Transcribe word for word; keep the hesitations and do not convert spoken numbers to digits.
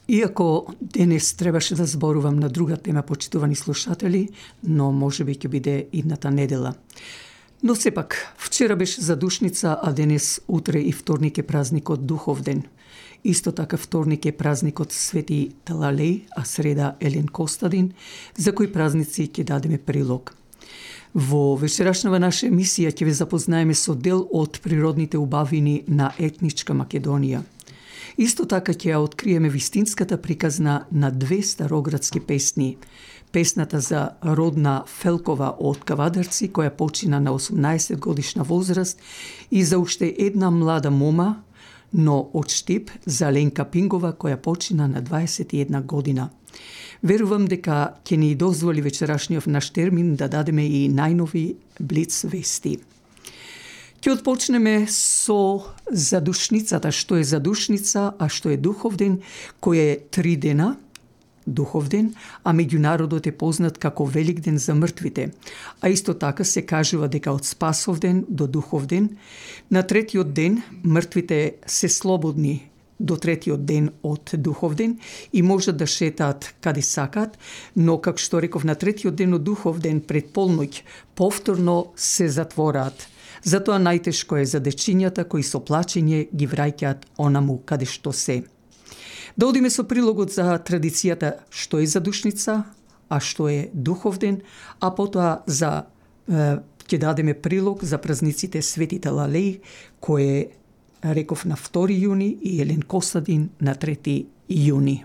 Иако денес требаше да зборувам на друга тема, почитувани слушатели, но може би ќе биде идната недела. Но сепак, вчера беше задушница, а денес, утре и вторник е празникот Духовден. Исто така вторник е празникот Свети Талалеј, а среда Елен Костадин, за кои празници ќе дадеме прилог. Во вечерашнава наша емисија ќе ве запознаеме со дел од природните убавини на етничка Македонија. Исто така ќе ја откриеме вистинската приказна на две староградски песни. Песната за Родна Фелкова од Кавадарци, која почина на осумнаесет годишна возраст, и за уште една млада мома, но од Штип, за Ленка Пингова, која почина на дваесет и една година. Верувам дека ќе ни дозволи вечерашниот наш термин да дадеме и најнови блиц вести. Ќе отпочнеме со задушницата, што е задушница, а што е Духовден, кој е три дена, Духовден, а меѓу народот е познат како Великден за мртвите. А исто така се кажува дека од Спасовден до Духовден, на третиот ден мртвите се слободни до третиот ден од Духовден и можат да шетаат каде сакаат, но, како што реков, на третиот ден од Духовден пред полноќ повторно се затвораат. Затоа најтешко е за дечињата кои со плачење ги враќаат онаму каде што се. Да одиме со прилогот за традицијата што е задушница, а што е Духовден, а потоа за е, ќе дадеме прилог за празниците Свети Талалеј, кој е, реков, на втори јуни и Елен Костадин на трети јуни.